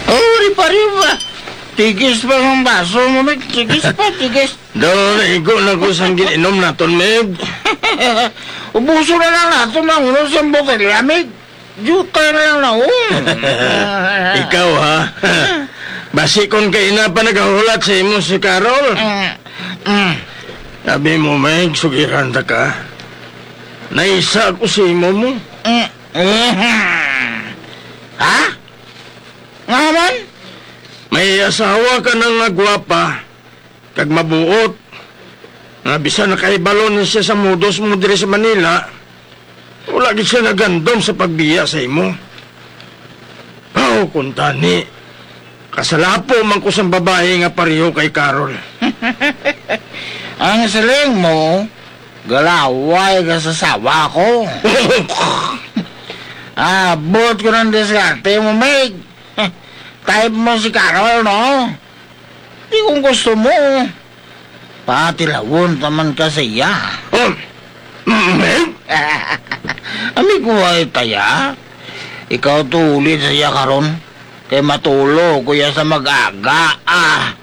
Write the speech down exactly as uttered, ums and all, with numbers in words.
Oh, di pa, di pa. Tigis pa ang baso mo, Meg. Tigis pa, tigis. Daw, naigo na ko sang gin-inom naton, Meg. Ubuso na lang naton ang ulo sa botelya, Meg. Jutay na lang na, oh. Ikaw, ha? Basi kon kaina pa nagahulat sa imo si Carol. Mm, mm. Sabi mo, Meg, sugiran ta ka. Naisa ako sa imo mo. Mm, mm. Ha? Nga man? May asawa ka na nga gwapa, kag mabuot, nga bisan nakahibalo na siya sa modus mo diri sa Manila, wala gid siya nagandom sa pagbiya sa imo. Aw, kung tani, kasalapo man ko sang babayi nga pareho kay Carol. Ang siling mo, galaway ka sa asawa ko. Abot ko ng diskarte mo, Meg. Type mo si Carol, no? Di kung gusto mo, patilawon ta man ka sa iya. Oh, Meg? Amigo ay taya. Ikaw tulid sa iya karon, kay matulo ko iya sa mag-aga. Ah.